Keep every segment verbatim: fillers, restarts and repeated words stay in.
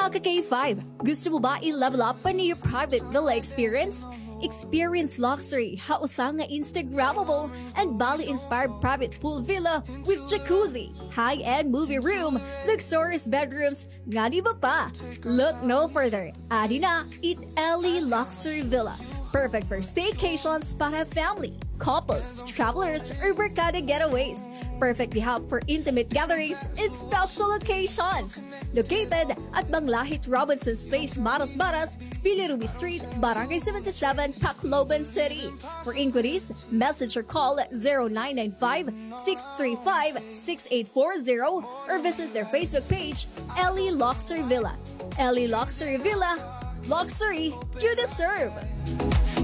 Ka K five, gusto mo ba i-level up pa an iyo private villa experience? Experience luxury ha usa nga Instagrammable and Bali-inspired private pool villa with jacuzzi, high-end movie room, luxurious bedrooms, ngan iba pa. Look no further. Adi na it Ellie Luxury Villa. Perfect for staycations para family, couples, travelers, or barkada getaways. Perfect di hap for intimate gatherings and special occasions. Located at Banglahit Robinson's Place, Maras Maras, Villa Ruby Street, Barangay seventy-seven, Tacloban City. For inquiries, message or call zero nine nine five, six three five, six eight four zero or visit their Facebook page, Ellie Luxury Villa. Ellie Luxury Villa, luxury you deserve.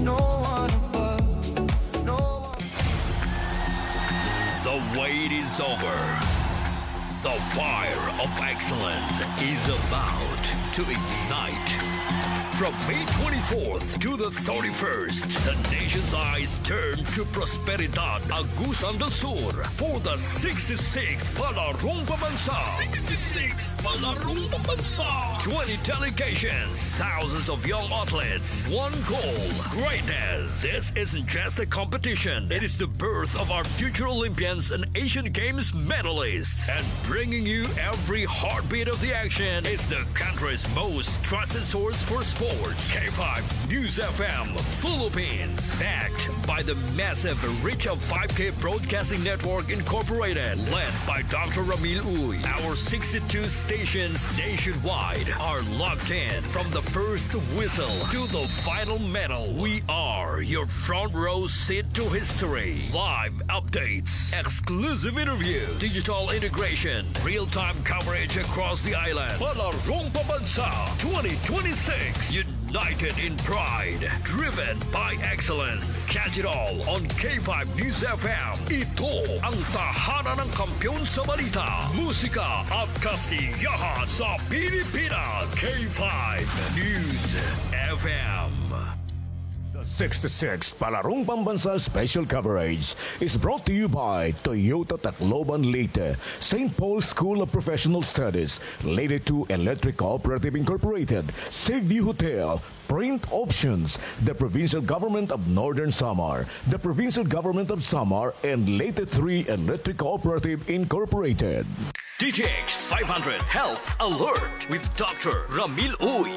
No one above, no one. The wait is over. The fire of excellence is about to ignite. From May twenty-fourth to the thirty-first, the nation's eyes turn to Prosperidad, Agusan del Sur, for the sixty-sixth Palarong Pambansa. Sixty-sixth Palarong Pambansa. Twenty delegations, thousands of young athletes, one goal, greatness. This isn't just a competition. It is the birth of our future Olympians and Asian Games medalists. And bringing you every heartbeat of the action is the country's most trusted source for sports. K five News F M Philippines. Backed by the massive reach of five K Broadcasting Network Incorporated, led by Doctor Ramil Uy. Our sixty-two stations nationwide are locked in. From the first whistle to the final medal, we are your front row seat to history. Live updates, exclusive interview, digital integration, real-time coverage across the island. Palarong Pambansa twenty twenty-six. United in pride, driven by excellence. Catch it all on K five News F M. Ito ang tahanan ng kampiyon sa balita, musika at kasiyahan sa Pilipinas. K five News F M. The sixty-sixth Palarong Pambansa Special Coverage is brought to you by Toyota Tacloban Leyte, Saint Paul School of Professional Studies, Leyte two Electric Cooperative Incorporated, Seaview Hotel, Print Options, the Provincial Government of Northern Samar, the Provincial Government of Samar, and Leyte three Electric Cooperative Incorporated. D T X five hundred Health Alert with Doctor Ramil Uy.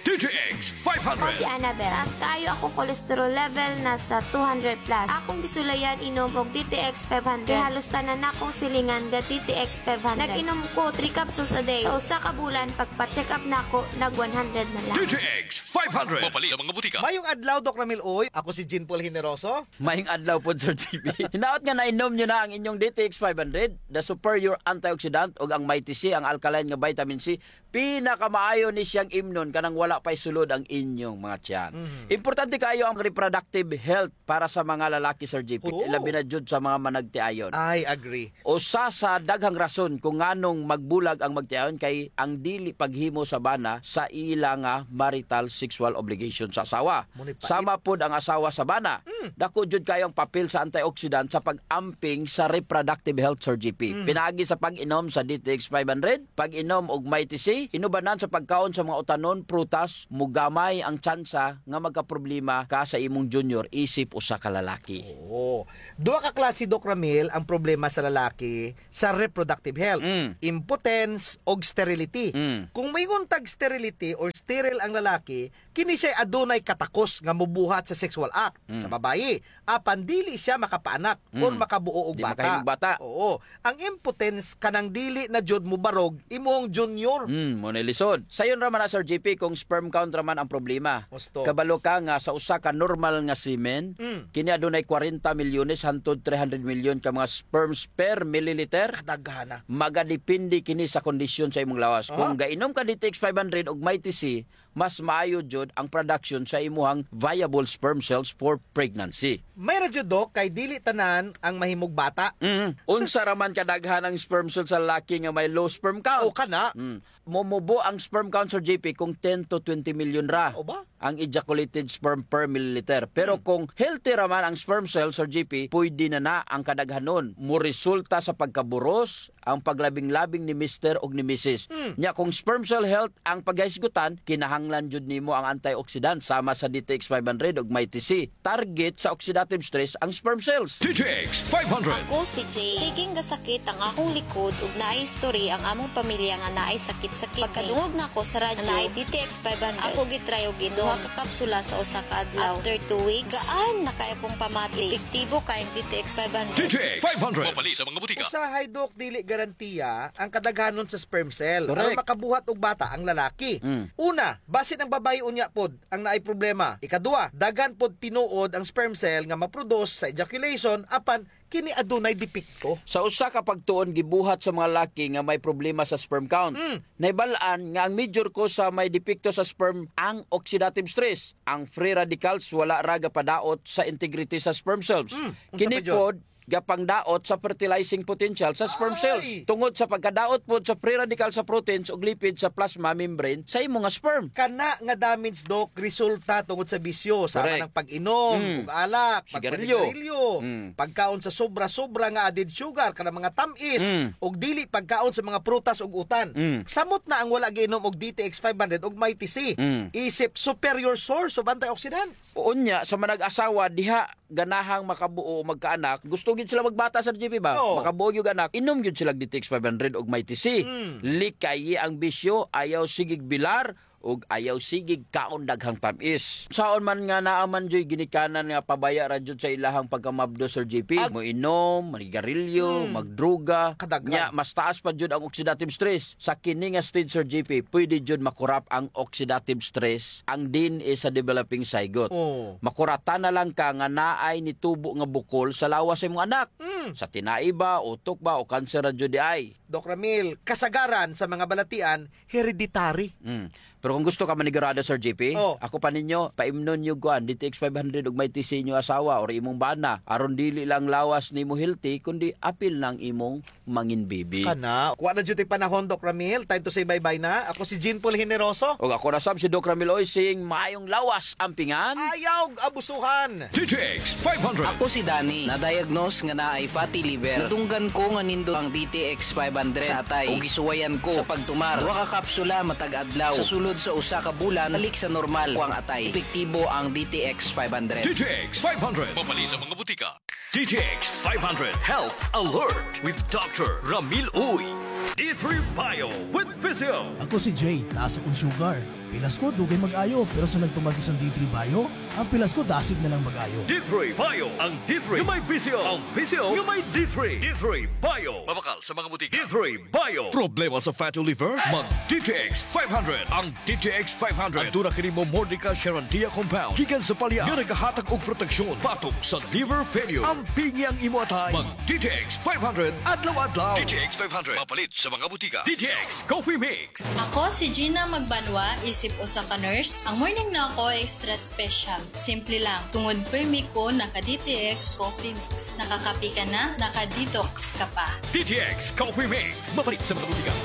D T X five hundred. Ako si Annabel. Taas kaayo akong cholesterol level, nasa two hundred plus. Akong gisulayan inom og D T X five hundred. Kay halos tanan nakong silingan ga D T X five hundred. Nag-inom ko three capsules a day. Sa usa ka bulan, pagpa-check up nako, nag one hundred na lang. D T X five hundred. Mapalit sa mga butika. Mayong adlaw, Doc Ramil Uy. Ako si Jean Paul Generoso. Mayong adlaw pod, Sir G P. Hinaot nga nainom niyo na ang inyong D T X five hundred, the superior antioxidant, ug ang Mighty C, ang alkaline nga vitamin C, pinakamaayo ni siyang imnon kanang wala pa'y sulod ang inyong mga tiyan. Mhm. Importante kaayo ang reproductive health para sa mga lalaki, Sir G P. Oo. Labi na jud sa mga managtiayon. I agree. Usa sa daghang rason kung nganong magbulag ang magtiayon kay ang dili paghimo sa bana sa ila nga marital sexual obligation sa asawa. Mao ni pait. Sama pod ang asawa sa bana. Hmm. Dako jud kaayo ang papel sa antioxidant sa pag-amping sa reproductive health, Sir G P. Hmm. Pinaagi sa pag-inom sa D T X five hundred, pag-inom og Mighty C, inubanan sa pagkaon sa mga utanon, prutas, mogamay ang tsansa nga magkaproblema ka sa imong junior isip usa ka lalaki. Oo. Duha ka klase, Doc Ramil, ang problema sa lalaki sa reproductive health. Mm. Impotence og sterility. Mm. Kung moingon tag sterility or sterile ang lalaki, kini siya'y adunay katakos nga mobuhat sa sexual act sa babayi. Apan dili siya makapaanak or makabuo og bata. Mm. Di makahimog bata. Oo. Ang impotence kanang dili na jud mobarog imong junior. Mm, mao na lisod. Sayon ra man na, Sir G P, kung sperm count ra man ang problema. Husto. Kabalo ka nga sa usa ka normal nga semen, mm, kini adunay kwarenta milyones hantod three hundred milyon ka mga sperms per milliliter. Kadaghana. Magadepende kini sa kondisyon sa imong lawas. Aha. Kung gainom ka D T X five hundred ug Mighty C, mas maayo jud ang production sa imuhang viable sperm cells for pregnancy. May ra jud, Doc, kay dili tanan ang mahimog bata. Mm. Unsa ra man kadaghan ang sperm cell sa lalaki nga may low sperm count? O, kana. Mm. Momubo ang sperm count, Sir G P, kung ten to twenty million ra ang ejaculated sperm per milliliter. Pero kung healthy ra man ang sperm cell, Sir G P, pwede na na ang kadaghanon. Moresulta sa pagkaburos, ang paglabing-labing ni mister ug ni misis. Hmm. Nya kung sperm cell health ang paghisgutan, kinahanglan jud nimo ang antioxidant sama sa D T X five hundred ug Mighty C. Target sa oxidative stress ang sperm cells. D T X five hundred. Ako si Jay. Siging gasakit ang akong likod ug naay history ang among pamilya nga naay sakit-sakit. Pagkadungog nako sa radyo nga naay D T X five hundred, ako gitry og inom duha ka kapsula sa usa ka adlaw. After two weeks, gaan na kaayo akong pamati. Epektibo kaayo ang D T X five hundred. D T X five hundred. Mapalit sa mga butika. Usahay, Dok, dili garantiya ang kadaghanon sa sperm cell. Correct. Aron makabuhat og bata ang lalaki. Mm. Una, basin ang babaye unya pod ang naay problema. Ikaduha, daghan pod tinuod ang sperm cell nga ma-produce sa ejaculation, apan kini adunay depekto. Sa usa ka pagtuon gibuhat sa mga laki nga may problema sa sperm count. Mm. Nahibal-an nga ang major cause sa may depekto sa sperm ang oxidative stress. Ang free radicals wala ra gapadaot sa integrity sa sperm cells. Mm. Unsa pa jud? Kini pod gapangdaot sa fertilizing potential sa sperm cells. Ay! Tungod sa pagkadaot pod sa free radical sa proteins ug lipid sa plasma membrane sa imo nga sperm. Kana nga damage, Doc, resulta tungod sa bisyo, sama ng pag-inom ug alak, pagpanigarilyo, pagkaon sa sobra-sobra nga added sugar, kanang mga tam-is, ug dili pagkaon sa mga prutas ug utan. Samot na ang wala giinom og D T X five hundred ug Mighty C. Isip superior source of antioxidants. Unya, sa manag-asawa, diha ganahang makabuo o magkaanak, gusto gyud sila magbata, Sir J P, ba? Oo. Makabuo gyud anak, inom gyud sila D T X five hundred ug Mighty C. Mm. Likayi ang bisyo, ayaw sigig bilar, ug ayaw sigig kaon daghang tam-is. Saon man nga naa man juy ginikanan nga pabaya ra jud sa ilahang pagkamabdos, Sir J P. Moinom, manigarilyo, magdruga. Kadaghan. Nya, mas taas pa jud ang oxidative stress. Sa kini nga stage, Sir J P, pwede jud makurap ang oxidative stress, ang D N A sa developing zygote. Oh. Makuratan na lang ka nga naay nitubo nga bukol sa lawas sa imong anak. Mm. Sa tinai ba, utok ba, o kanser ra jud diay? Doc Ramil, kasagaran sa mga balatian, hereditary. Mm. Pero kung gusto ka manigurado, Sir J P, oh, ako pa ninyo, paimnon niyo kuan, D T X five hundred ug Mighty C inyo asawa or imong bana. Aron dili lang lawas nimo healthy, kundi apil na ang imong mangin baby. Kana. Wa na jud tay panahon, Doc Ramil. Time to say bye-bye na. Ako si Jean Paul Generoso. Ug ako na sab si Doc Ramil Oysing. Maayong lawas, ampingan. Ayaw abusuhan. D T X five hundred. Ako si Danny. Na-diagnose nga naay fatty liver. Nadunggan ko nga nindot ang D T X five hundred sa atay. Ug gisuwayan ko sa pagtumar duha ka kapsula matag adlaw. Sa sulod sa usa ka bulan, balik sa normal ko ang atay. Epektibo ang D T X five hundred. D T X five hundred. Mapalit sa mga butika. D T X five hundred Health Alert with Doctor Ramil Uy. D three Bio with Physio. Ako si Jay, taas akon sugar. Pilas ko, dugay mag-ayo, pero sa nagtumar ko sa D three Bio, ang pilas ko, dasig na lang mag-ayo. D three Bio, ang D three nga may Physio, ang Physio nga may D three. D three Bio. Mabakal sa mga butika. D three Bio. Problema sa fatty liver? Mag D T X five hundred. Ang D T X five hundred. Aduna kini Momordica Charantia compound gikan sa palya nga nagahatag og proteksyon batok sa liver failure. Ampingi ang imo atay. Mag D T X five hundred adlaw-adlaw. D T X five hundred. Mapalit sa mga butika. D T X Coffee Mix. Ako si Gina Magbanwa, isip usa ka nurse. Ang morning nako extra special. Simple lang. Tungod permi ko naka D T X Coffee Mix. Nakakape ka na, naka-detox ka pa. D T X Coffee Mix. Mapalit sa mga butika.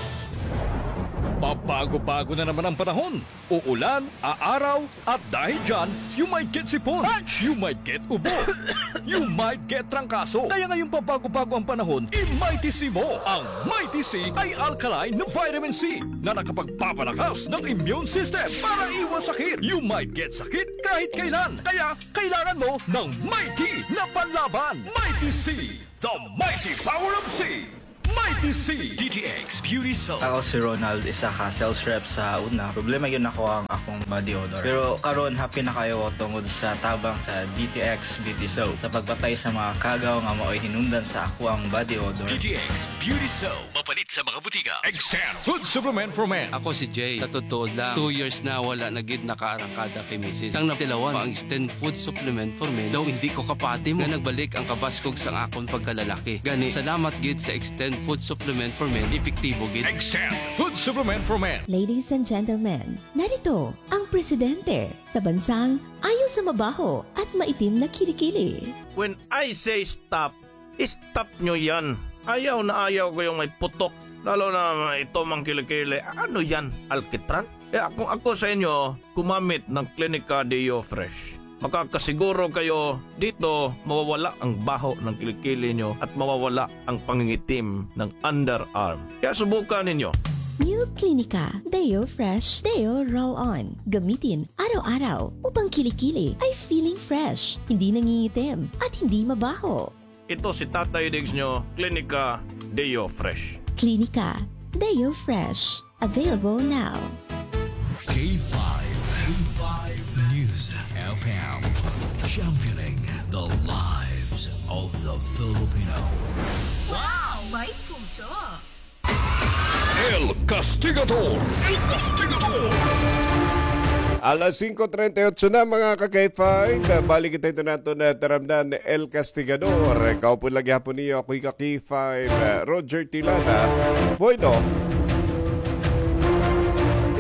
Pabago-bago na naman ang panahon. Uulan, aaraw, at dahil dyan, you might get sipon, you might get ubo, you might get trangkaso. Kaya ngayong pabago-bago ang panahon, i-Mighty C mo. Ang Mighty C ay alkaline na vitamin C na nakapagpapalakas ng immune system para iwas sakit. You might get sakit kahit kailan. Kaya kailangan mo ng Mighty na panlaban. Mighty C, the mighty power of C. Mighty C. D T X Beauty Soap. Ako si Ronald, isa ka sales rep sa una. Problema gyud nako ang akong body odor. Pero karon, happy na kaayo ko tungod sa tabang sa D T X Beauty Soap sa pagpatay sa mga kagaw nga maoy hinungdan sa akoang body odor. D T X Beauty Soap. Mapalit sa mga butika. Extend Food Supplement for Men. Ako si Jay. Sa totoo lang, two years na wala na gid nakaarangkada kay misis. Sang natilawan pa ang Extend Food Supplement for Men, daw hindi ko kapati mo nga nagbalik ang kabaskog sang akon pagkalalaki. Gani, salamat gid sa Extend Food Supplement for Men, epektibo gid. Extend Food Supplement for Men. Ladies and gentlemen, narito ang presidente sa bansang ayo sa mabaho at maitim na kilikili. When I say stop, stop nyo yan. Ayaw na ayaw ko yung may putok. Lalo na ito, mga kilikili. Ano yan? Alkitran? Kaya kung ako sa inyo, gumamit ng Clinica Deo Fresh. Makakasiguro kayo dito, mawawala ang baho ng kilikili nyo at mawawala ang pangingitim ng underarm. Kaya subukan ninyo. New Clinica Deo Fresh Deo Roll-On. Gamitin araw-araw upang kilikili ay feeling fresh, hindi nangingitim, at hindi mabaho. Ito si Tatay Diggs nyo, Klinika Deo Fresh. Klinika Deo Fresh. Available now. K five, K five News F M, championing the lives of the Filipino. Wow! May puso! El Castigador! El Castigador! Alas singko treinta y ocho na, mga ka-K five. Balik kita ito nato na taramdan, El Castigador. Kaupod lagi hapon niyo, ako ka-K five, uh, Roger Tilana. Bueno,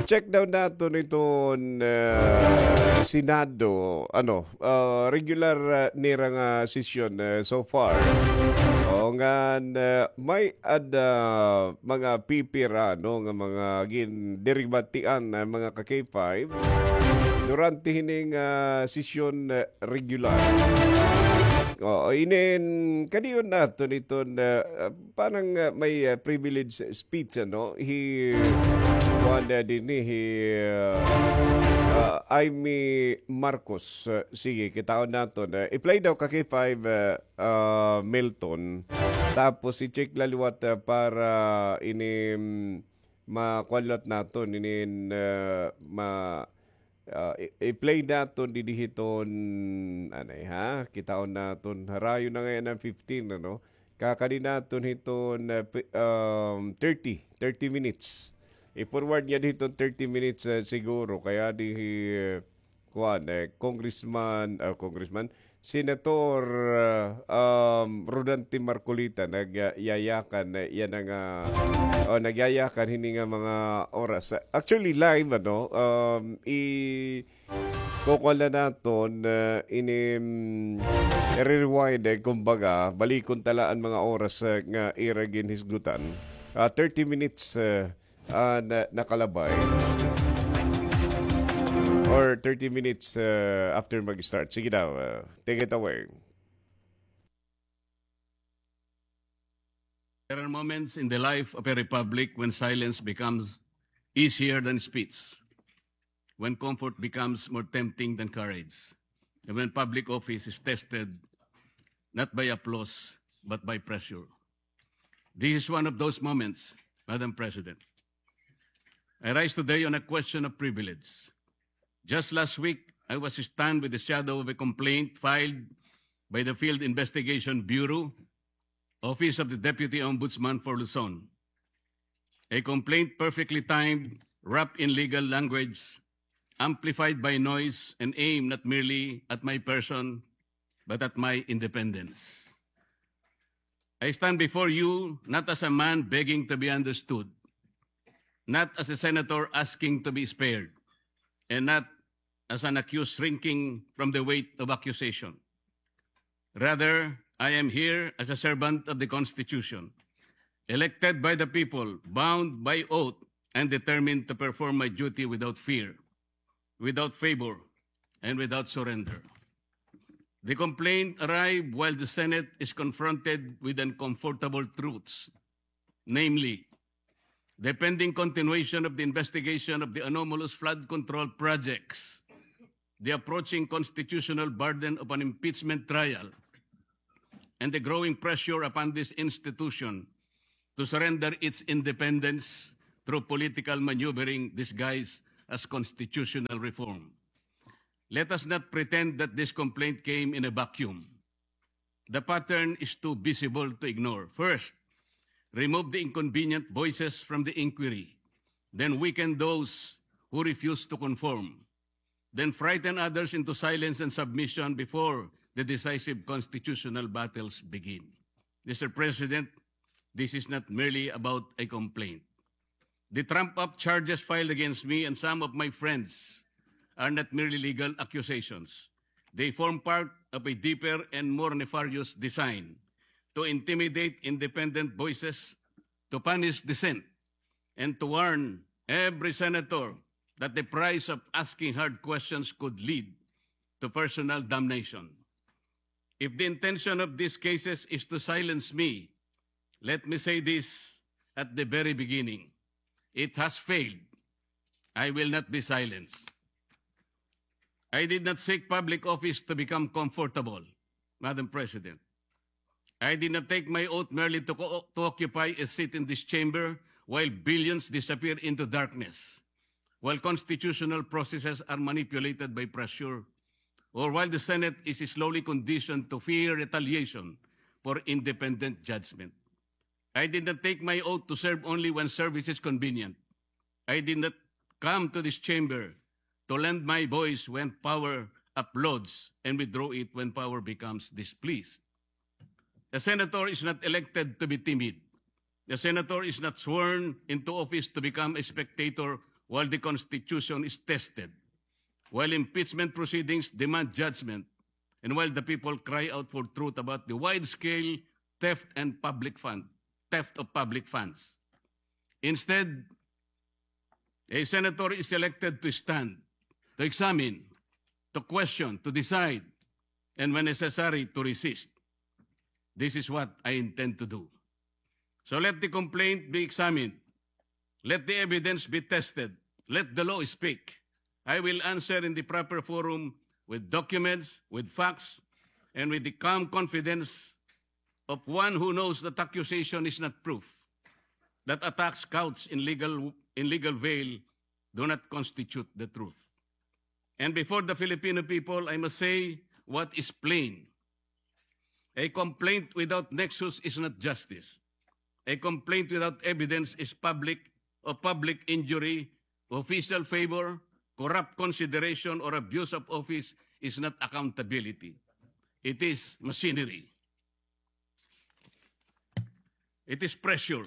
check daw nato niton, uh, Senado, ano, ah, regular, ah, nira nga sesyon, eh, so far. O, ngan, ah, may-ada mga pipira, no, nga mga gindiribatian, ah, mga ka-K five durante hining, ah, sesyon, eh, regular. O, inin, kadiyon naton iton, ah, parang, ah, may, ah, privilege speech, ano, hi, kuan, ah, dinhi, hi, ah, ah, Imee Marcos. Ah, sige, kitaon naton. Ah, i-play daw ka K five, ah, ah, Milton. Tapos i-check la liwat, ah, para ini, mm, makuan liwat naton, inin, ah, ma- Ah, i-, i-play naton dinhi hiton, anay ha, kitaon naton, harayo na ngay-an an fifteen, ano? Kakadi naton hiton, ah, pi-, um, thirty, thirty minutes. I-forward niya dinhi hiton thirty minutes, ah, siguro. Kay adi hi, eh, kuan, eh, Congressman, ah, Congressman, Senator, ah, um, Rodante Marcoleta, nag, ah, yayakan, eh, yana nga, o, nagyayakan hini nga mga oras. Actually, live, ano, um, i-, kukuha na naton, ah, ini, mm, i-rewind, eh, kumbaga, balikon ta la an mga oras, ah, nga ira ginhisgutan. Ah, thirty minutes, ah, ah, na, nakalabay. Or thirty minutes, uh, after mag-start. Sige daw, uh, take it away. There are moments in the life of a republic when silence becomes easier than speech, when comfort becomes more tempting than courage, and when public office is tested not by applause, but by pressure. This is one of those moments, Madam President. I rise today on a question of privilege. Just last week, I was stunned with the shadow of a complaint filed by the Field Investigation Bureau, Office of the Deputy Ombudsman for Luzon. A complaint perfectly timed, wrapped in legal language, amplified by noise, and aimed not merely at my person, but at my independence. I stand before you not as a man begging to be understood, not as a senator asking to be spared, and not as an accused shrinking from the weight of accusation. Rather, I am here as a servant of the Constitution, elected by the people, bound by oath, and determined to perform my duty without fear, without favor, and without surrender. The complaint arrived while the Senate is confronted with uncomfortable truths, namely, the pending continuation of the investigation of the anomalous flood control projects, the approaching constitutional burden of an impeachment trial, and the growing pressure upon this institution to surrender its independence through political maneuvering disguised as constitutional reform. Let us not pretend that this complaint came in a vacuum. The pattern is too visible to ignore. First, remove the inconvenient voices from the inquiry, then weaken those who refuse to conform, then frighten others into silence and submission before the decisive constitutional battles begin. Mister President, this is not merely about a complaint. The trump-up charges filed against me and some of my friends are not merely legal accusations. They form part of a deeper and more nefarious design to intimidate independent voices, to punish dissent, and to warn every senator that the price of asking hard questions could lead to personal damnation. If the intention of these cases is to silence me, let me say this at the very beginning. It has failed. I will not be silenced. I did not seek public office to become comfortable, Madam President. I did not take my oath merely to co-, to occupy a seat in this chamber while billions disappear into darkness, while constitutional processes are manipulated by pressure, or while the Senate is slowly conditioned to fear retaliation for independent judgment. I did not take my oath to serve only when service is convenient. I did not come to this chamber to lend my voice when power applauds and withdraw it when power becomes displeased. A senator is not elected to be timid. A senator is not sworn into office to become a spectator while the Constitution is tested, while impeachment proceedings demand judgment, and while the people cry out for truth about the wide-scale theft and public fund, theft of public funds. Instead, a senator is elected to stand, to examine, to question, to decide, and when necessary, to resist. This is what I intend to do. So let the complaint be examined. Let the evidence be tested. Let the law speak. I will answer in the proper forum with documents, with facts, and with the calm confidence of one who knows that accusation is not proof, that attacks couched in legal, in legal veil do not constitute the truth. And before the Filipino people, I must say what is plain. A complaint without nexus is not justice. A complaint without evidence is public, of public injury, official favor, corrupt consideration, or abuse of office is not accountability. It is machinery. It is pressure.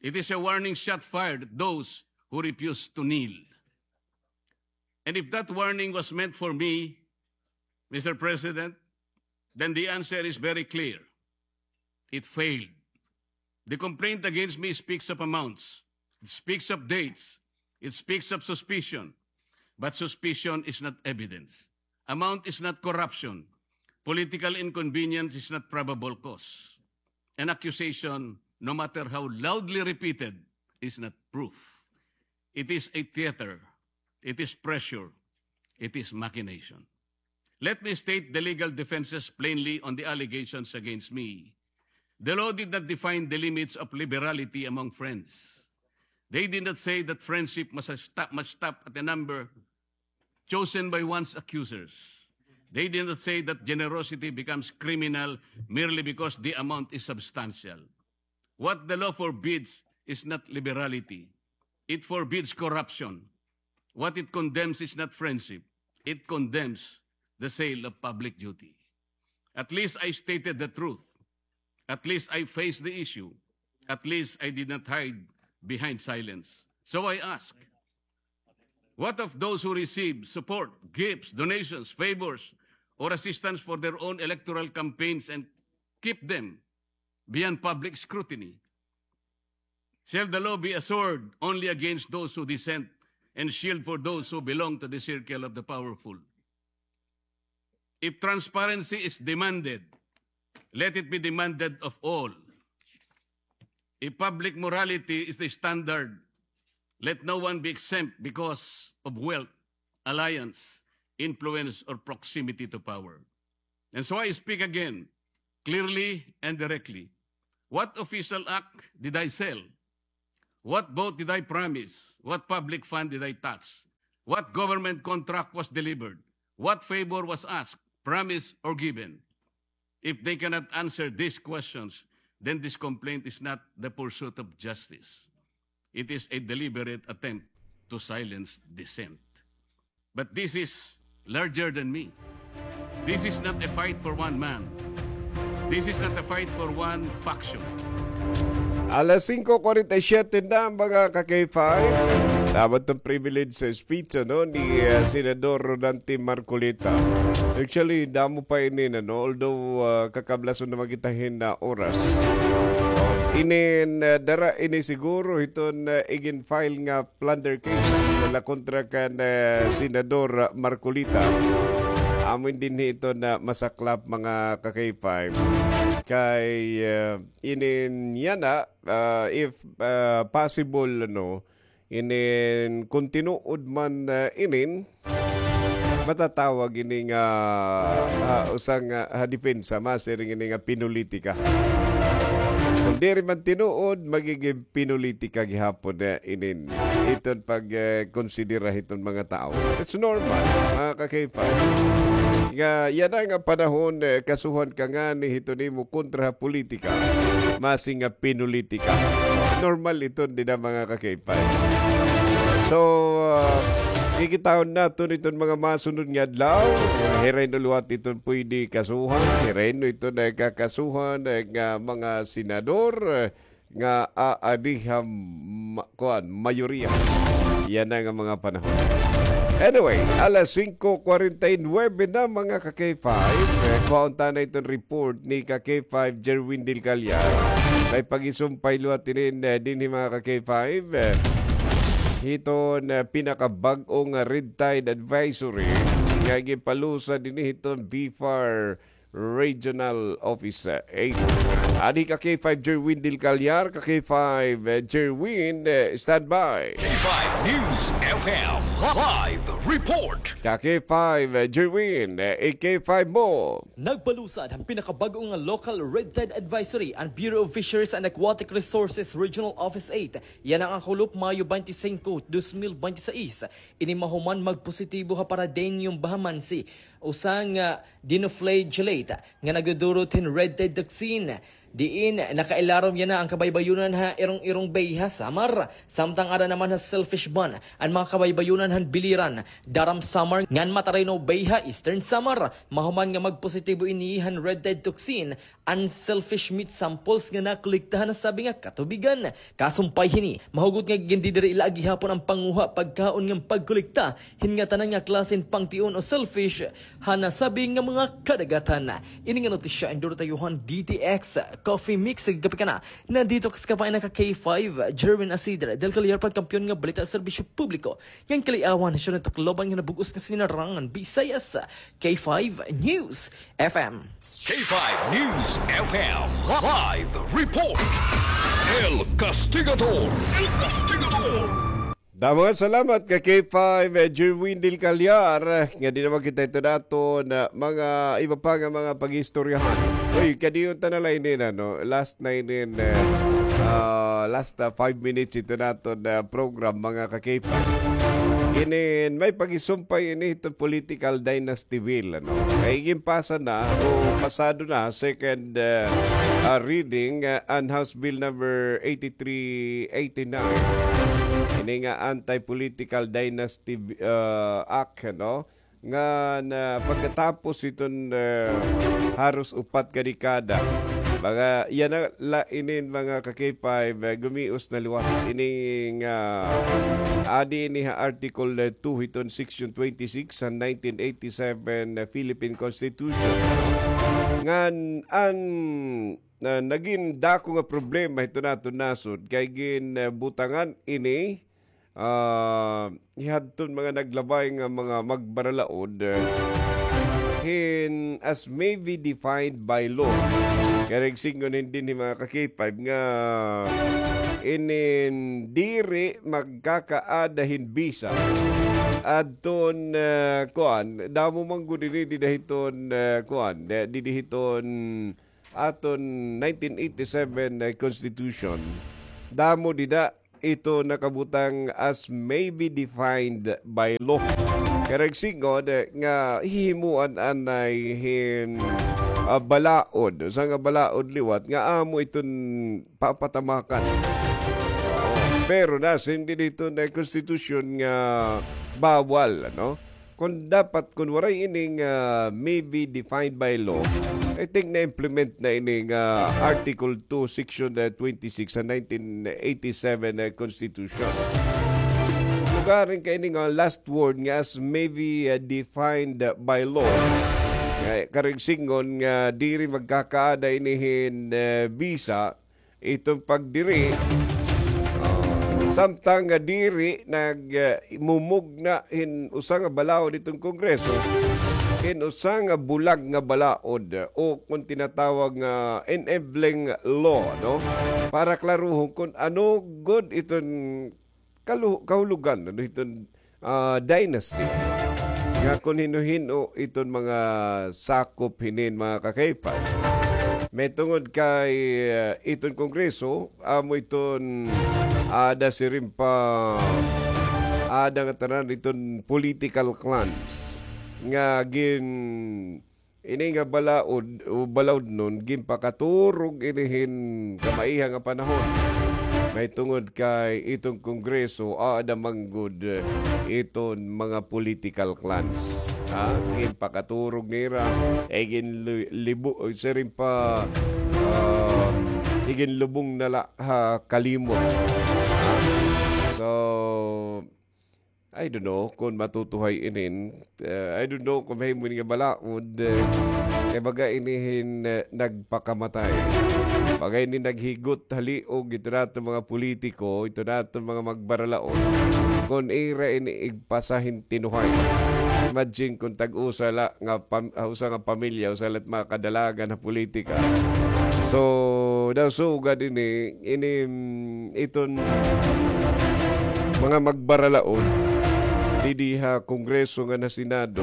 It is a warning shot fired at those who refuse to kneel. And if that warning was meant for me, Mister President, then the answer is very clear. It failed. The complaint against me speaks of amounts. It speaks of dates. It speaks of suspicion. But suspicion is not evidence. Amount is not corruption. Political inconvenience is not probable cause. An accusation, no matter how loudly repeated, is not proof. It is a theater. It is pressure. It is machination. Let me state the legal defenses plainly on the allegations against me. The law did not define the limits of liberality among friends. They did not say that friendship must stop, must stop at a number chosen by one's accusers. They did not say that generosity becomes criminal merely because the amount is substantial. What the law forbids is not liberality. It forbids corruption. What it condemns is not friendship. It condemns the sale of public duty. At least I stated the truth. At least I faced the issue. At least I did not hide behind silence. So I ask, what of those who receive support, gifts, donations, favors, or assistance for their own electoral campaigns and keep them beyond public scrutiny? Shall the law be a sword only against those who dissent and shield for those who belong to the circle of the powerful? If transparency is demanded, let it be demanded of all. If public morality is the standard, let no one be exempt because of wealth, alliance, influence, or proximity to power. And so I speak again, clearly and directly. What official act did I sell? What vote did I promise? What public fund did I touch? What government contract was delivered? What favor was asked, promised, or given? If they cannot answer these questions, then this complaint is not the pursuit of justice. It is a deliberate attempt to silence dissent. But this is larger than me. This is not a fight for one man. This is not a fight for one faction. Alas singko kuwarenta y siyete na, mga ka-K five. Dapat itong privilege sa speech, ano, ni, ah, Senador Rodante Marcoleta. Actually, damo pa ini, ano, although, ah, kakablason naman kita hin, ah, oras. Inin, ah, dara ini siguro hiton, ah, igin-file nga plunder case la kontra kan, ah, Senador Marcoleta. Amo dinhi iton, ah, masaklap, mga ka-K five. Kay, ah, inin yana, ah, if, ah, possible, ano, inin kon tinuod man, ah, inin, matatawag ini nga, ah, usa nga, ah, depensa, masiring ini nga pinulitika. Kon diri man tinuod, magigin pinulitika gihapon, eh, inin. Iton pag, eh, konsidera hiton mga tawo. It's normal, mga ka-K five. Nga, yana nga panahon, eh, kasuhan ka ngani hiton imo kontra ha politika, masi nga pinulitika. Normal iton dida, mga ka-K five. So, ah, kikitaon naton iton mga masunod nga adlaw. Hiray-no liwat iton pwede kasuhan, hiray-no iton kakasuhan, eh, nga mga senador, eh, nga aadi ha ma-, kuan, mayoriya. Yana nga mga panahon. Anyway, alas singko kwarenta y nuwebe na, mga ka-K five. Eh, kuhaon ta na iton report ni ka-K five Jerwin Del Callar. May pagisumpay liwat inin, eh, dinhi, mga ka-K five. Eh, hiton, eh, pinakabag-o nga red tide advisory nga ginpalusa dinhi hiton BFAR Regional Office, eh, eight. Adi ka K five Jerwin Del Callar, ka K five, eh, Jerwin, eh, standby. K five News F M live report. Ka K five, eh, Jerwin, eh, i K five mo. Nagpalusad han pinakabag-o nga local red tide advisory an Bureau of Fisheries and Aquatic Resources Regional Office eight. Yana nga kulop Mayo twenty-five, dos mil twenty-six. Ini mahuman magpositibo ha Paradeño Bahamansi usa nga dinoflagellate nga nagdudurot hin red tide toxin. Diin nakailarom yana an kabaybayonan ha Irong-Irong Bay ha Samar, samtang ada naman ha Selfish Ban an mga kabaybayonan han Biliran, Daram Samar, ngan Matarino Bay ha Eastern Samar. Mahuman nga magpositibo ini han red tide toxin an selfish meat samples nga nakolekta han nasabi nga katubigan. Kasumpay hini, mahugot nga gindidiri la gihapon an panguha pagkaon ngan pagkolekta hin ngatanan nga klase hin pangtion o selfish han nasabi nga mga kadagatan. Ini nga notisya an duro ta iyo han D T X Coffee Mix. Kape ka na, na-detox ka pa, ina ka K five, Jerwin Asidre, Del Callar, pagkampiyon nga balita, serbisyo publiko. Ngan kaliawan, siya na Tacloban nga nabug-os nga sinarangan, Bisayas. K five News F M. K five News F M live report. El Castigador. El Castigador. Damo nga salamat ka K five, eh, Jerwin Del Callar, eh, nga di naman kita ito nato na mga iba pa nga mga pag-istoryahan. Uy, kadiyon ta na la inin, ano, last na inin, eh, ah, last, ah, five minutes ito nato na program, mga ka-K five. Inin, may pag-isumpay ini ito political dynasty bill, ano. Kay ginpasa na o pasado na, second, ah, ah, reading, ah, an House Bill number eighty-three eighty-nine. Ini nga Anti-Political Dynasty, ah, Act, no? Nga na pagkatapos iton, ah, haros upat ka dekada. Mga, yana la inin, mga ka-K five, ah, gumios na liwat. Ini nga, adi ini ha Article, ah, two hiton Section twenty-six sa nineteen eighty-seven, ah, Philippine Constitution. Ngan an na nagin dako nga problema hito naton nasod kay gin, eh, butangan ini, ah, hihadton mga naglabay nga mga magbaralaod, eh, hin as may be defined by law. Kay nagsingon hin dinhi mga ka-K five nga inin diri magkakaada hin bisa adton, eh, kuan, damo man gud ini dida hiton, eh, kuan, eh, dida hiton aton nineteen eighty-seven, eh, Constitution, damo dida ito nakabutang as may be defined by law. Kay nagsingon, eh, nga hihimuan anay hin, ah, balaod, usa nga balaod liwat nga amo iton papatamakan. Pero nasiring dida hiton konstitusyon nga bawal, ano? Kon dapat, kon waray ini nga may be defined by law, I think na-implement na ini nga Article two, Section, uh, twenty-six sa nineteen eighty-seven, uh, Constitution. Lugarin kay ini nga last word nga as may be, uh, defined by law. Nga, karuyag sidngon nga diri magkakaada ini hin, uh, bisa, iton pagdiri, ah, samtang nga diri nag, ah, mumugna hin usa nga balaod iton Kongreso, hin usa nga bulag nga balaod, o kon tinatawag nga enabling law, no? Para klaruhon kon ano gud iton kalu-, kahulugan, ano, iton, ah, dynasty. Nga kon hino-hino iton mga sakop hinin, mga ka-K five. Mahitungod kay, ah, iton Kongreso, amo iton, ah, ada siring pa, ada nga tanan iton political clans nga gin- ini nga balaod o balaodnon, ginpakaturog ini hin kamaiha nga panahon. Mahitungod kay iton Kongreso, aada man gud iton mga political clans. Ha? Ginpakaturog nira, ay ginli-, libo-, siring pa, um, iginlubong na la ha kalimot. So, I don't know kon matutuhay inin. Uh, I don't know kon mahimo ini nga balaod, uh, kay baga ini hin, uh, nagpakamatay. Baga ini naghigot ha liog ito naton mga politiko, ito naton mga magbaralaod. Kon ira ini igpasa hin tinuhay. Imagine kon tag-usa la nga pam-, ah, usa nga pamilya, usa la it mga kadalagan ha politika. So, daw sugad ini, ini, mm, iton mga magbaralaod didi ha Kongreso ngan ha Senado,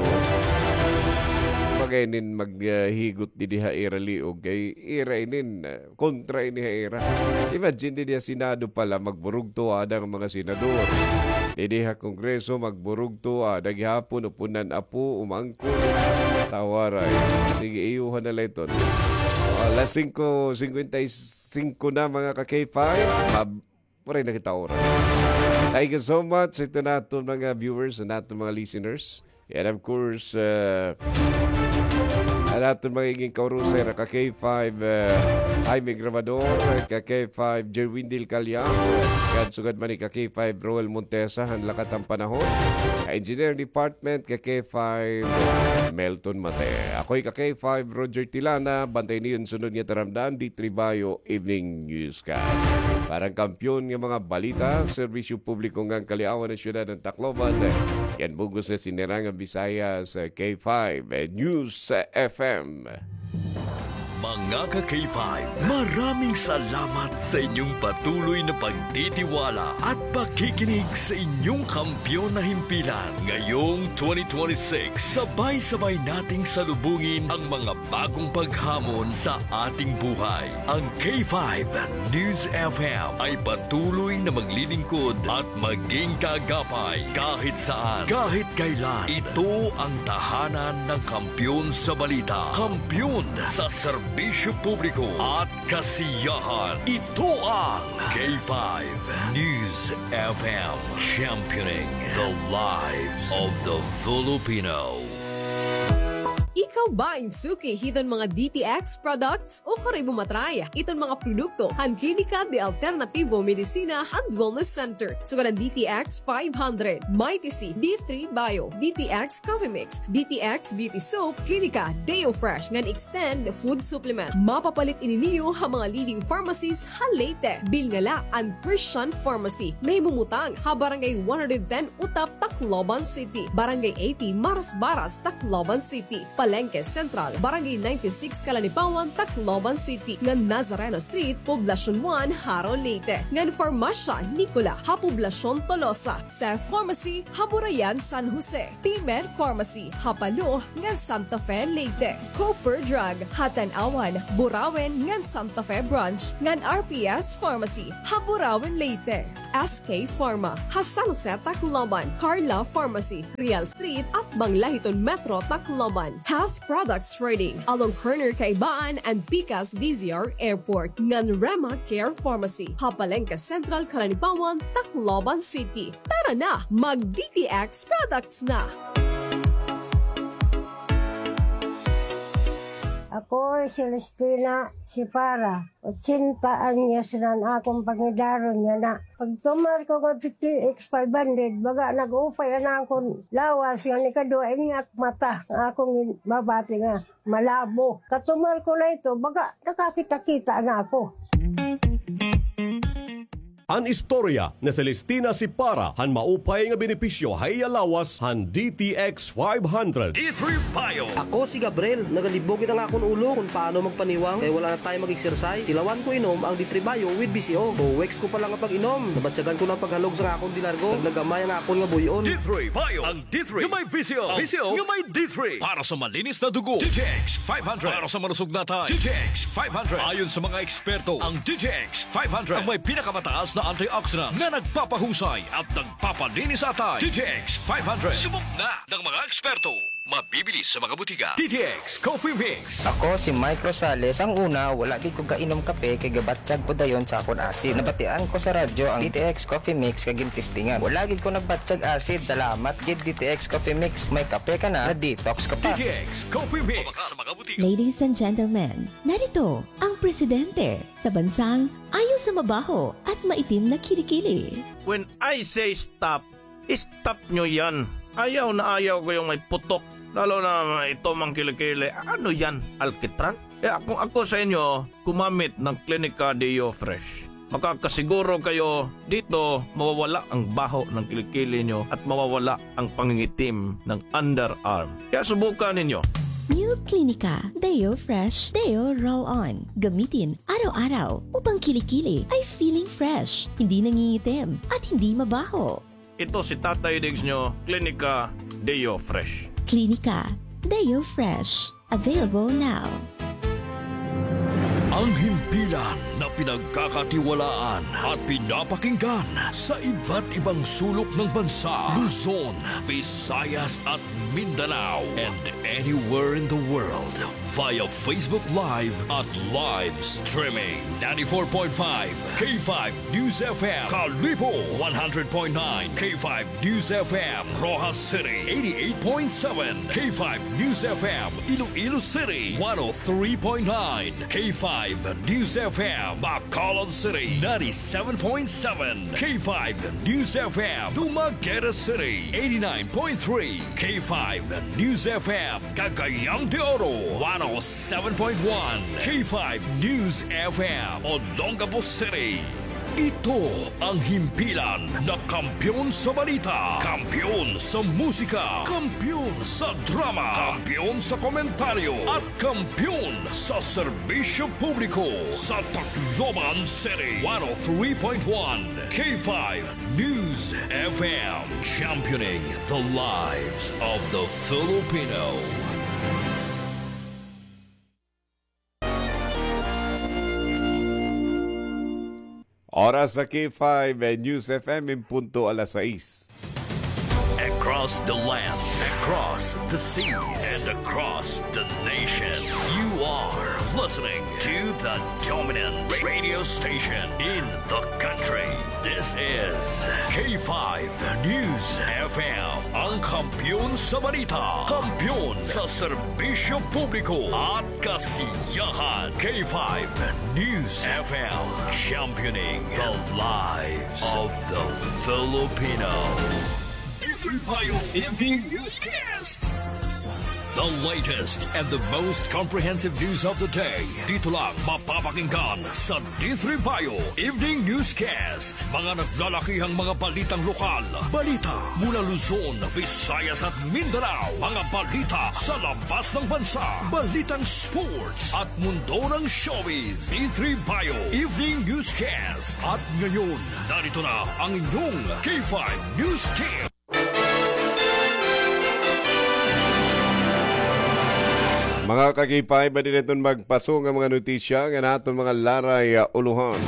baga inin maghigot didi ha ira liog kay ira inin, ah, kontra ini ha ira. Imagine, didi ha Senado pa la magburugto ada nga mga senador. Didi ha Kongreso magburugto ada gihapon, upunan apo, umangkon. Tawaray. Sige, iyuhan na la iton. Alas singko singkwenta y singko na, mga ka-K five. Mab-, waray na kita oras. Thank you so much sa ito naton mga viewers, sa naton mga listeners. And of course, uh, an aton mga iging kaurusay ra, ka-K five, uh, Jaime Grabador, ka-K five Jerwin Del Callar, uh, sugad man ni ka-K five Roel Montesa, han lakat han panahon, ka-Engineering Department, ka-K five Melton Mate. Ako'y ka-K five Roger Tilana, bantay niyo an sunod nga taramdan, D three Bayo Evening Newscast. Para han kampiyon nga mga balita, serbisyo publiko ngan kaliawan han syudad han Tacloban, yan bug-os nga sinirangan Bisaya sa K five News F M. Mga ka-K five, maraming salamat sa inyong patuloy na pagtitiwala at pakikinig sa inyong kampiyon na himpilan. Ngayong twenty twenty-six, sabay-sabay nating salubungin ang mga bagong paghamon sa ating buhay. Ang K five News F M ay patuloy na maglilingkod at maging kaagapay kahit saan, kahit kailan. Ito ang tahanan ng kampiyon sa balita, kampiyon sa serbisyo publiko at kasiyahan. Ito ang K five News F M, championing the lives of the Filipino. Ikaw ba in suki hiton mga D T X products? Ukon ikaw ba matry iton mga produkto han Klinika de Alternativo Medicina and Wellness Center? Sugad han D T X five hundred, Mighty C, D three Bio, D T X Coffee Mix, D T X Beauty Soap, Klinika Deo Fresh ngan Extend Food Supplement. Mapapalit ini niyo ha mga leading pharmacies ha Leyte. Bilngala an Christian Pharmacy, nahimumutang ha Barangay one hundred ten Utap, Tacloban City, Barangay eighty Marasbaras, Tacloban City, Palengke Central, Barangay ninety-six Calanipawan, Tacloban City, ngan Nazareno Street, Poblacion one, Jaro, Leyte, ngan Farmasya Nicola ha Poblacion Tolosa, Seth Pharmacy ha Burayan, San Jose, Pimer Pharmacy ha Palo ngan Santa Fe, Leyte, Cooper Drug ha Tanauan, Burauen ngan Santa Fe Branch, ngan R P S Pharmacy ha Burauen, Leyte, S K Pharma ha San Jose, Tacloban, Carla Pharmacy, Real Street, atbang la hiton Metro Tacloban, Half Products Trading, along corner Kaibaan and Pikas D Z R Airport, ngan Rema Care Pharmacy ha Palengke Central, Calanipawan, Tacloban City. Tara na, mag-D T X products na! Ako si Celestina Sipara. Ochenta anyos na an akon pangidaron yana. Pagtumar ko ngadto T X five hundred, baga nag-upay an akon lawas, ngan ikaduha, ini ak mata, nga akon mabati nga malabo. Katumar ko na ito, baga nakakita-kita na ako. An istorya ni Celestina Sipara han maupay nga benepisyo ha iya lawas han D T X five hundred. D three Bio. Ako si Gabriel, nagalibog gid an akon ulo kon paano magpaniwang kay wala na time mag-exercise. Tilawan ko inom ang D three Bio with B C O. Two weeks ko pa lang nga pag-inom, nabatyagan ko na an paghalog sa akon delargo. Naglagamay ang akon nga buy-on. D three Bio. Ang D three nga may V C O. V C O nga may D three. Para sa malinis na dugo, D T X five hundred. Para sa malusog na atay, D T X five hundred. Ayon sa mga eksperto, ang D T X five hundred ang may pinakamataas na antioxidant na nagpapahusay at nagpapalinis sa atay. D T X five hundred. Subok na ng mga eksperto. Mabibili sa mga butika. D T X Coffee Mix. Ako si Mike Rosales. Ang una, wala gid ko kainom kape kay gabatyag ko dayon sa akon acid. Nabatian ko sa radyo ang D T X Coffee Mix kay gintistingan. Wala gid ko nagbatyag acid. Salamat gid D T X Coffee Mix. May kape ka na, na-detox ka pa. D T X Coffee Mix. Mabaka sa mga butika. Ladies and gentlemen, narito ang presidente sa bansang ayaw sa mabaho at maitim na kilikili. When I say stop, stop nyo yan. Ayaw na ayaw ko yung may putok. Lalo na ito mang kilikili. Ano yan? Alkitran? Kaya kung ako sa inyo, gumamit ng Clinica Deo Fresh. Makakasiguro kayo dito mawawala ang baho ng kilikili nyo at mawawala ang pangingitim ng underarm. Kaya subukan ninyo. New Clinica Deo Fresh Deo Roll On. Gamitin araw-araw upang kilikili ay feeling fresh, hindi nangingitim, at hindi mabaho. Ito si Tatay Diggs nyo, Clinica Deo Fresh. Clinica Deo Fresh. Available now. Ang himpilan na pinagkakatiwalaan at pinapakinggan sa iba't ibang sulok ng bansa, Luzon, Visayas at Mindanao, and anywhere in the world via Facebook Live at live streaming. Ninety-four point five K five News F M, Kalibo, one hundred point nine K five News F M, Roxas City, eighty-eight point seven K five News F M, Iloilo City, one oh three point nine K five News F M, Bacolod City, ninety-seven point seven K five News F M, Dumaguete City, eighty-nine point three K five News F M, Cagayan de Oro, one oh seven point one K five News F M, Olongapo City. Ito ang himpilan na kampiyon sa balita, kampiyon sa musika, kampiyon sa drama, kampiyon sa komentaryo, at kampiyon sa serbisyo publiko sa Tacloban City. One oh three point one K five News F M, championing the lives of the Filipino. Oras sa K five News F M in punto alas sais. Across the land, across the seas, and across the nation, you are listening to the dominant radio station in the country. This is K five News F M, ang kampiyon sa balita, kampiyon sa serbisyo publiko at kasiyahan. K five News F M, championing the lives of the Filipino. D three Bio Evening Newscast. The latest and the most comprehensive news of the day. Dito lang mapapakinggan sa D three Bio Evening Newscast. Mga naglalakihang mga balitang lokal, balita mula Luzon, Visayas at Mindanao, mga balita sa labas ng bansa, balitang sports at mundo ng showbiz. D three Bio Evening Newscast. At ngayon, narito na ang inyong K five News Team. Mga ka-K five, adi naton magpaso nga mga notisya nga naton mga laray, ah, ulohan.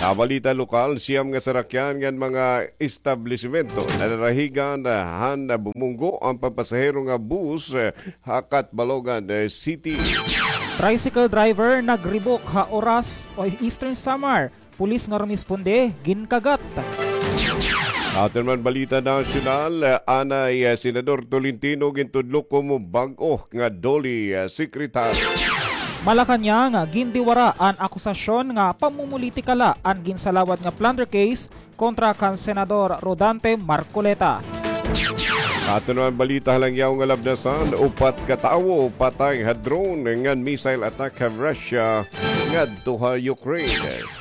Sa balita lokal, siyam nga sarakyan ngan mga establisimento nadarahigan, ah, han bumunggo an pampasahero nga bus, ah, ha Catbalogan, ah, City. Tricycle driver nagribok ha Oras, Eastern Samar. Pulis nga rumisponde, ginkagat. Aton man balita nasyonal, anay, ah, Senador Tolentino gintudlo komo bag-o nga DOLE, ah, secretary. Malacañang, gindiwara an akusasyon nga pamumulitika la an ginsalawad nga plunder case kontra kan Senador Rodante Marcoleta. Aton naman balita ha langyaw nga labnasan, upat ka tawo patay ha drone ngan missile attack ha Russia ngadto ha Ukraine.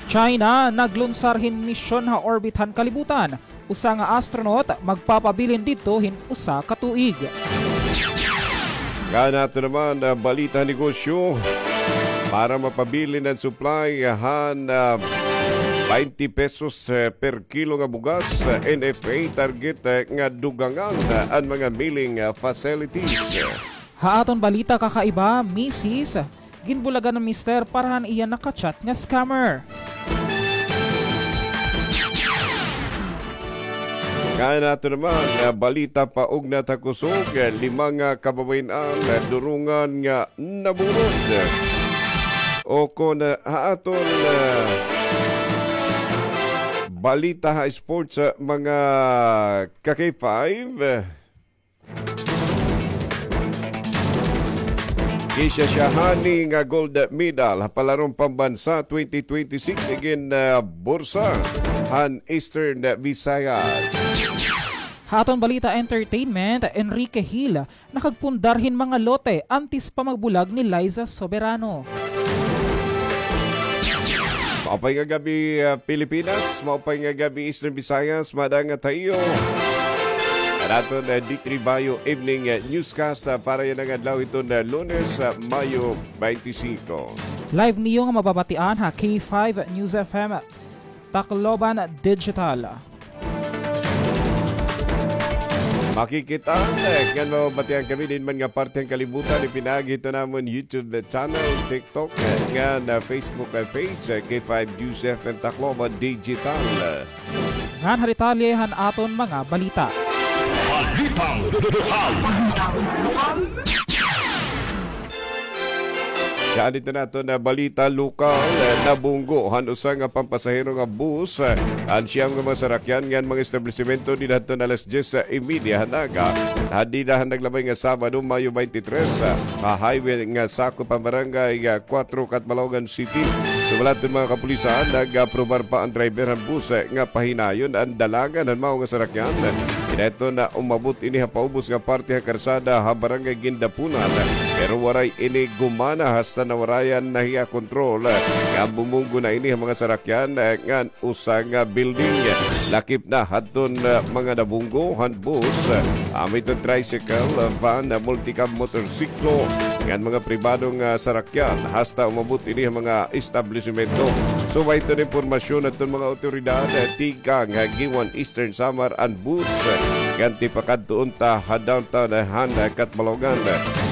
China naglunsar hin misyon ha orbit han kalibutan. Usa nga astronaut magpapabilin didto hin usa ka tuig. Ngan ato naman, ah, balita negosyo. Para mapabilin an supply han, ah, baynte pesos, eh, per kilo nga bugas, eh, N F A target, eh, nga dugangan, ah, an mga milling, ah, facilities. Ha aton balita kakaiba, misis, ginbulagan an mister para han iya naka-chat nga scammer. Ngan ato naman, ah, balita paugnat ha kusog, eh, lima nga kababayen-an, eh, durungan nga nabunod. O kon, ah, ha aton, ah, balita ha sports, ah, mga ka-K five, eh, Gisya siya hani nga gold medal ha palaron pambansa twenty twenty-six igin, ah, bursa han Eastern Visayas. Ha aton balita entertainment, Enrique Hill nakagpundar hin mga lote antes pa magbulag ni Liza Soberano. Maupay nga gab-i, ah, Pilipinas. Maupay nga gab-i, Eastern Visayas. Madangat ha iyo an aton, ah, D three Bayo Evening, ah, Newscast, ah, para yana nga adlaw hiton, ah, Lunes, ah, Mayo twenty-five. Live niyo nga mababatian ha K five News F M Tacloban Digital. Makikit-an, eh, ngan mababatian kami dinhi man nga parte han kalibutan, ipinaagi hito namon YouTube channel, TikTok, eh, ngan, ah, Facebook, eh, page, eh, K five News F M Tacloban Digital. Ngan ha detalye han aton mga balita. Balitang lokal. Siya didto naton nga balita lokal, eh, nabunggo han usa nga pampasahero nga bus, eh, an siyam nga mga sarakyan ngan mga establisimento dida hadton alas dyes y media han aga, ha dida han naglabay nga Sabado, Mayo twenty-three, eh, ha highway nga sakop han barangay, ah, kuwatro, Catbalogan City. Sumala hadton mga kapulisan, nag-aprobar pa an driver han bus, eh, nga pahinayon an dalangan han mao nga sarakyan. Kinaidto nga umabot ini ha paubos nga parte ha karsada ha Barangay Guindapunan, pero waray ini gumana hasta nawarayan na hiya kontrol, nga bumunggo na ini ha mga sarakyan, eh, ngan usa nga building. Lakip na hadton, eh, mga nabunggo han bus, eh, amo iton tricycle, eh, van, eh, multicab motorsiklo, ngan mga pribado nga sarakyan, hasta umabot ini ha mga establisimento. Subay hiton impormasyon hadton mga awtoridad, eh, tikang ha Guiuan, Eastern Samar, an bus, eh, ngan tipakadto unta ha downtown, eh, han, eh, Catbalogan.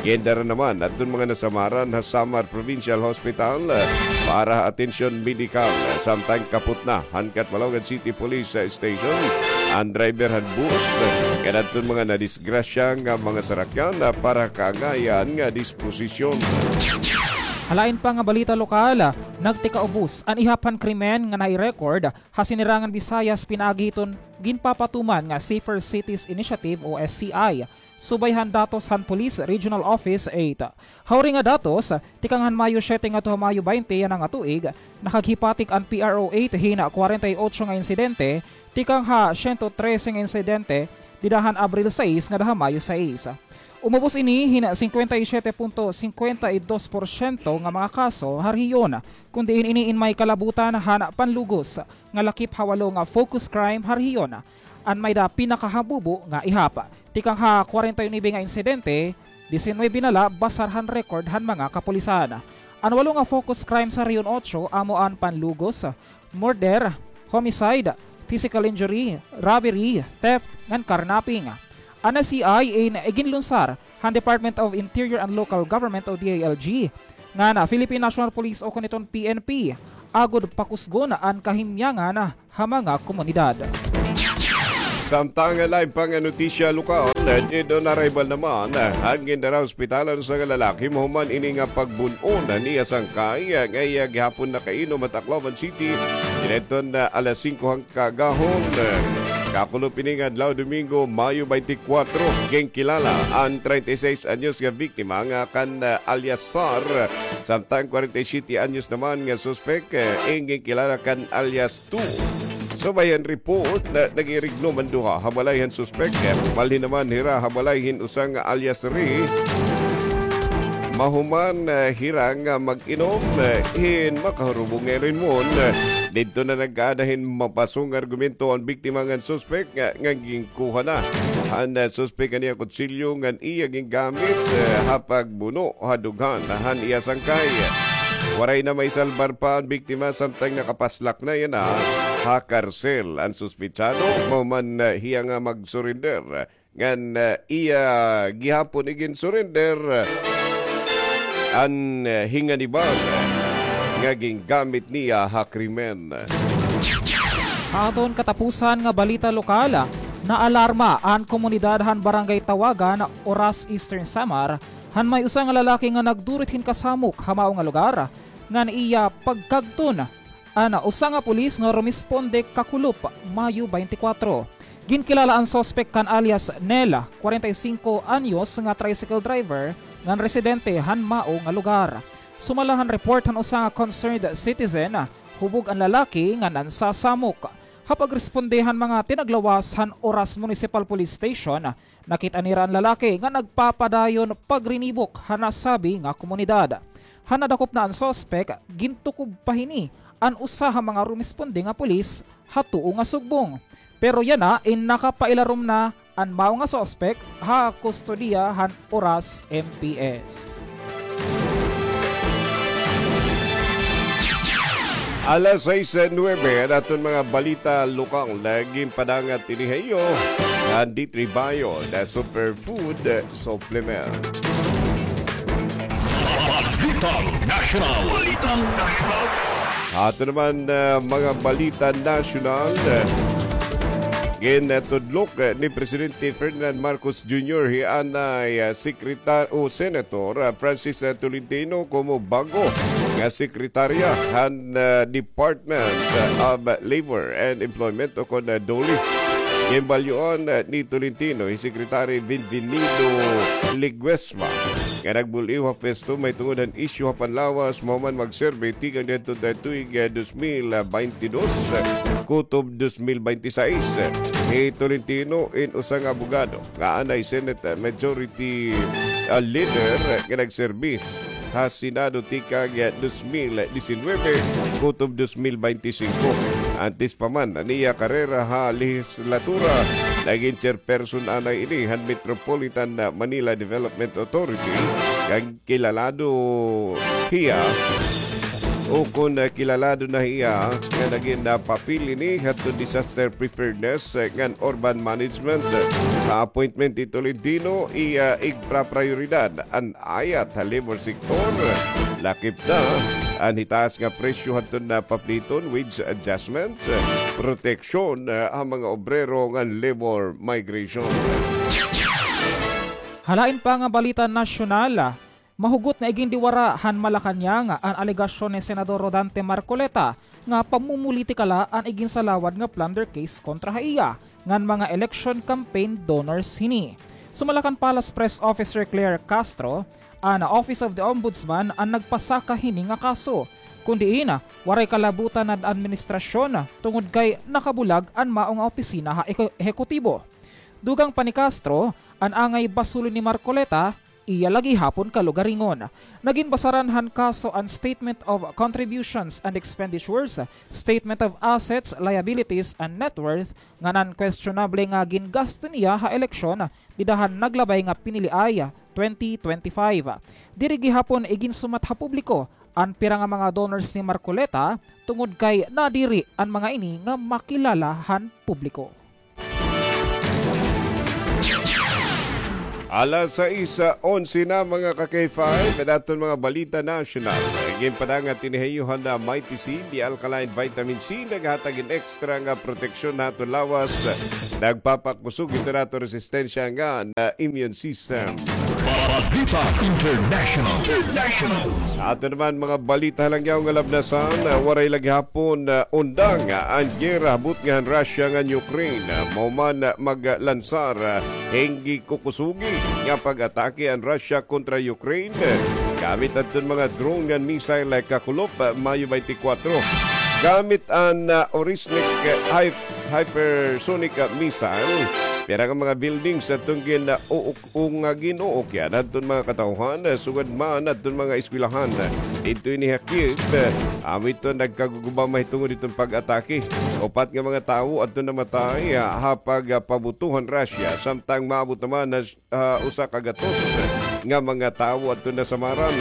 Gindara naman hadton mga nasamaran ha Samar Provincial Hospital, eh, para ha atensyon medikal, eh, samtang kapot na han Catbalogan City Police, eh, Station an driver han bus, eh, ngan hadton mga nadisgrasya nga mga sarakyan, eh, para kaangayan nga disposisyon. Ha lain pa nga balita lokal, nagtikaubos an ihap han krimen nga nai-record ha Sinirangan Visayas pinaagi hiton ginpapatuman nga Safer Cities Initiative o S C I. Subay han datos han Police Regional Office eight. Ha uri nga datos, tikang han Mayo siyete ngadto ha Mayo baynte yana nga tuig, nakaghipatik an P R O eight hin kwarenta y otso nga insidente, tikang ha siyento trese nga insidente dida han Abril sais ngada ha Mayo sais. Umubos ini hin singkwenta y siyete punto singkwenta y dos porsyento nga mga kaso ha rehiyon, kon diin ini in may kalabutan han panlugos nga lakip ha walo nga focus crime ha rehiyon. An may-ada pinakahambubo nga ihap. Tikang ha kwarenta y nuebe nga insidente, disinuybe na la basar han record han mga kapulisan. An walo nga focus crime sa Region Otso amo an panlugos, murder, homicide, physical injury, robbery, theft, ngan carnapping. An S C I in iginlunsar han Department of Interior and Local Government o D I L G, ngan Philippine National Police o kon iton P N P, agod pakusgon an kahimyangan ha mga komunidad. Samtang lain pa nga notisya lokal, dead on arrival naman an gindara ha ospital an usa nga lalaki mahuman ini nga pagbun-on an iya sangkay nga iya gihapon nakainom ha Tacloban City. Kinaidto nga alas singko han kaagahon. Kakulop ini nga adlaw, Domingo, Mayo twenty-four, ginkilala an treinta y seis anyos nga biktima nga kan, ah, alias Sar, samtang kwarenta y siyete anyos naman nga suspek, eh, in ginkilala kan alias Two. Subay han report nga nag-irignom an duha ha balay han suspek, eh, malhin naman hira ha balay hin usa nga alias Ray. Mahuman, ah, hira nga mag-inom, ah, hin makahurubong nga irinmon, ah, didto na nag-aada hin mapasong argumento an biktima ngan suspek nga, nga ginkuha na han, ah, suspek an iya kutsilyo ngan iya gingamit, ah, ha pagbuno ha dughan han iya sangkay. Waray na maisalbar pa an biktima samtang nakapaslak na yana ha karsel. An suspetsado, mahuman, ah, hiya nga mag-surrender. Ngan, ah, iya gihapon igin-surrender an, ah, hinganiban nga gingamit niya ha krimen. Ha aton katapusan nga balita lokal, naalarma an komunidad han Barangay Tawagan, Oras, Eastern Samar, han may usa nga lalaki nga nagdurit hin kasamok ha mao nga lugar ngan iya pagkagton an usa nga pulis nga rumisponde kakulop, Mayo twenty-four. Ginkilala an suspek kan alias Nel, kwarenta y singko anyos, nga tricycle driver ngan residente han mao nga lugar. Sumala han report han usa nga concerned citizen, hubog an lalaki nga nansasamok. Ha pagresponde han mga tinaglawas han Oras Municipal Police Station, nakit-an nira an lalaki nga nagpapadayon pagrinibok ha nasabi nga komunidad. Han nadakop na an suspek, gintukob pa hini an usa ha mga rumisponde nga pulis ha tuo nga sugbong. Pero yana in nakapailarom na an mao nga suspek ha kustodiya han Oras M P S. Alas sais nuebe, an aton mga balita lokal nga ginpadangat ini ha iyo han D three Bio, the superfood supplement. Balitang Nasyonal. Balitang Nasyonal. Ato naman, ah, mga balita nasyonal, ah, gintudlok, ah, ni Presidente Ferdinand Marcos Junior hi anay, ah, Sekretar-, o Senator, ah, Francis, ah, Tolentino komo bag-o nga sekretarya han, ah, Department, ah, of Labor and Employment o kon, ah, DOLE. Ginbalyoan, ah, ni Tolentino hi Secretary Bienvenido Leguesma nga nagbul-iw ha pwesto mahitungod han isyu ha panlawas, mahuman magserbi tikang didto ha tuig, ah, dos mil baynte dos, ah, kutob dos mil baynte sais. Hi Tolentino in usa nga abogado nga anay Senate Majority, ah, Leader, ah, nga nagserbi ha Senado tikang, ah, dos mil disinuybe kutob dos mil baynte singko. Antes pa man an iya karera ha lehislatura, nagin chairperson anay ini han Metropolitan, ah, Manila Development Authority, kag kilalado hiya, o kon, ah, kilalado na hiya nga nagin, ah, papel ini hadto disaster preparedness, ah, ngan urban management. Sa appointment ni Tolentino, iya igpraprayoridad an ayat ha labor sector, lakip na an hitaas nga presyo hadton na papliton, wage adjustment, proteksyon, ah, ha mga obrero ngan labor migration. Ha lain pa nga balita nasyonal, mahugot nga igindiwara han Malacañang an alegasyon ni Senador Rodante Marcoleta nga pamumulitika la an iginsalawad nga plunder case kontra ha iya ngan mga election campaign donors hini. Sumala kan Palace Press Officer Claire Castro, an Office of the Ombudsman an nagpasaka hini nga kaso, kun diin waray kalabutan an administrasyon tungod kay nakabulag an mao nga opisina ha ehe-, ehekutibo. Dugang pa ni Castro, an angay basulon ni Marcoleta, iya la gihapon kalugaringon. Naginbasaran han kaso an Statement of Contributions and Expenditures, Statement of Assets, Liabilities, and Net Worth ngan an questionable nga gingasto niya ha eleksyon dida han naglabay nga piniliay twenty twenty-five. Diri gihapon iginsumat ha publiko an pira nga mga donors ni Marcoleta tungod kay nadiri an mga ini nga makilala han publiko. Alas sais onse na, mga ka-K five, an aton mga balita nasyonal. Ginpadangat ini ha iyo han Mighty C, the alkaline vitamin C, naghatag hin extra nga proteksyon ha aton lawas. Nagpapakusog hito han aton resistensya ngan immune system. Balita International. International. Ato naman mga balita ha langyaw nga labnasan, ah, waray la gihapon, ah, undang, ah, an giyera ha butnga han Russia ngan Ukraine. Ah, mao man, ah, maglansar, ah, hin gikukusugi nga pag-atake an Russia kontra Ukraine, ah, gamit adton mga drone ngan missile, ah, kakulop, ah, Mayo twenty-four. Gamit an, ah, Oreshnik, ah, high hypersonic, ah, missile. Pira nga mga buildings adton gin-, ah, uuk-, o nga gin-uukyan adton mga katawhan, ah, sugad man adton mga eskwelahan. Didto ini ha Kyiv, ah, amo ito nagkaguguba mahitungod hiton pag-atake. Upat nga mga tawo adton namatay, ah, ha pag, ah, pabuto han Russia, samtang maabot naman na ah, usa ka gatos nga mga tawo adto nasamaran.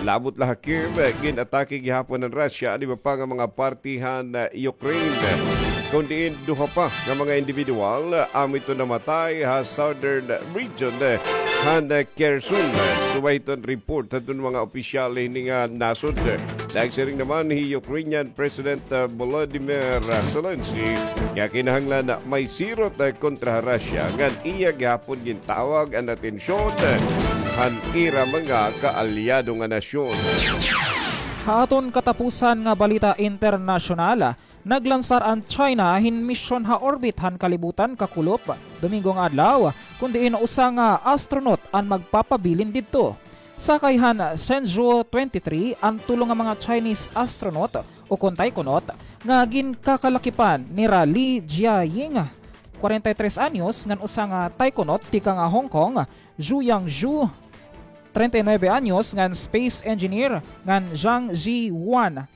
Labot la ha Kyiv, gin-atake gihapon han Russia an iba pa nga mga parte han, ah, Ukraine. Kon diin duha pa nga mga individual, ah, amo ito namatay ha southern region, ah, han, ah, Kherson. Subay hiton report hadton mga opisyal hini nga nasod. Nagsiring naman hi Ukrainian President, ah, Volodymyr, ah, Zelensky nga kinahanglan na may sirot, ah, kontra ha Russia ngan iya gihapon gintawag an atensyon han ira mga kaalyado nga nasyon. Ha aton katapusan nga balita internasyonal, naglansar an China hin misyon ha orbit han kalibutan kakulop Domingo nga adlaw, kon diin usa nga astronaut an magpapabilin didto. Sakay han Shenzhou twenty-three an tulo nga mga Chinese astronaut ukon taikonaut nga ginkakalakipan nira Li Jiaying, kwarenta y tres anyos, ngan usa nga taikonaut tikang ha Hong Kong, Zhu Yangzhu, treinta y nueve anyos, ngan space engineer, ngan Zhang Ziwan,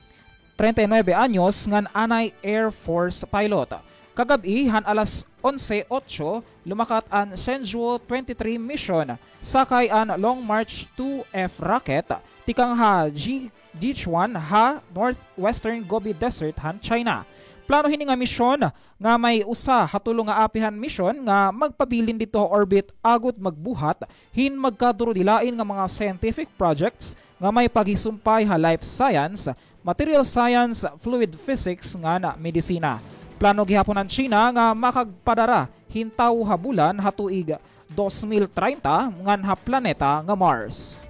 treinta y nueve anyos, ngan anay Air Force pilot. Kagab-i han alas onse otso, lumakat an Shenzhou twenty-three mission, sakay an Long March two F rocket, tikang ha Ji-, Sichuan ha northwestern Gobi Desert han China. Plano hini nga misyon nga may usa ha tulo nga apihan misyon nga magpabilin didto ha orbit agod magbuhat hin magkadurudilain nga mga scientific projects nga may paghisumpay ha life science, material science, fluid physics ngan medisina. Plano gihapon han China nga makagpadara hin tawo ha bulan ha tuig dos mil treinta ngan ha planeta nga Mars.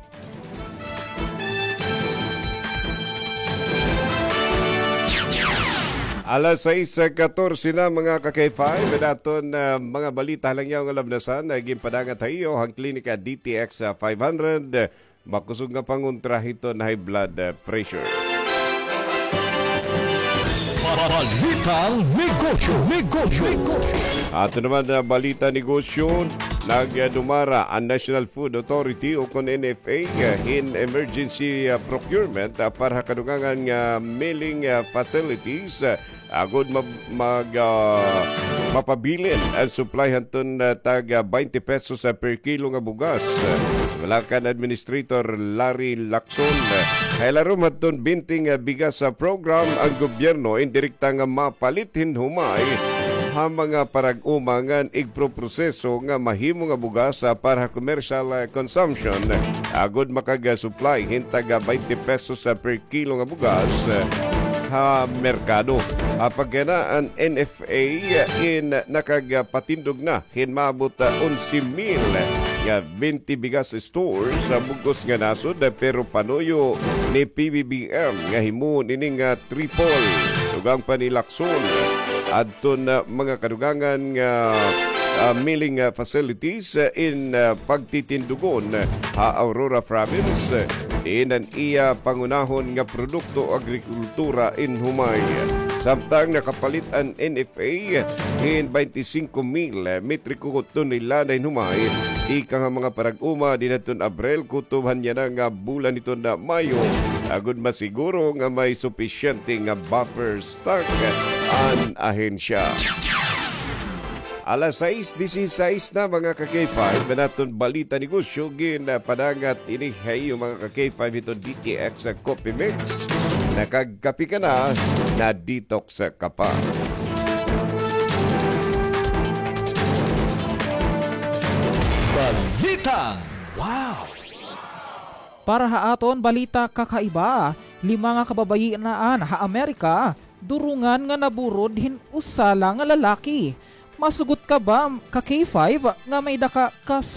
Alas sais katorse na, mga ka-K five, an aton, ah, mga balita ha langyaw nga labnasan, ah, ginpadangat ha iyo han Klinika D T X, ah, five hundred. Makusog nga pangontra hiton high blood, eh, pressure. Balitang negosyo, negosyo, negosyo. Ato naman na balita negosyo, nagdumara an National Food Authority o kon N F A, eh, hin emergency, eh, procurement, ah, para ha kadugangan nga milling, ah, facilities, ah, agod ma-, mag, ah, mapabilin an supply hadton, ah, tag, ah, baynte pesos, ah, per kilo nga bugas. Sumala kan Administrator Larry Lacson, ah, ha ilarom hadton Binti nga Bigas, ah, program, an gobyerno indirekta nga mapalit hin humay ha mga parag-uma ngan igproproseso nga mahimo nga bugas, ah, para ha commercial, ah, consumption, agod makag-, ah, supply hin tag, ah, baynte pesos, ah, per kilo nga bugas, ah, ha merkado. Apagkana an N F A in nakagpatindog na hin maabot, ah, onse mil nga binti bigas stores sa bug-os nga nasod, ah, pero panuyo ni P B B M nga himuon ini nga triple. Dugang pa ni Lacson, adton, ah, mga kadugangan nga, ah, milling, ah, facilities, ah, in, ah, pagtitindugon ha Aurora Province, ah, diin an iya pangunahon nga produkto agrikultura in humay. Samtang nakapalit an N F A hin baynte singko mil metriko tonelada hin humay tikang ha mga parag-uma dinhi hadton Abril kutob han yana nga bulan hiton Mayo, agod masiguro nga may supisyente nga buffer stock an ahensya. Alas sais disisais na, mga ka-K five, an aton balita negosyo ginpadangat ini ha iyo, mga ka-K five, hiton D T X Coffee Mix. Nakagkape ka na, na-detox ka pa. Balitang wow! Para ha aton balita kakaiba, lima nga kababayian ha Amerika, durungan nga naburod hin usa la nga lalaki. Masugot ka ba, ka-K five, nga may-ada ka kas-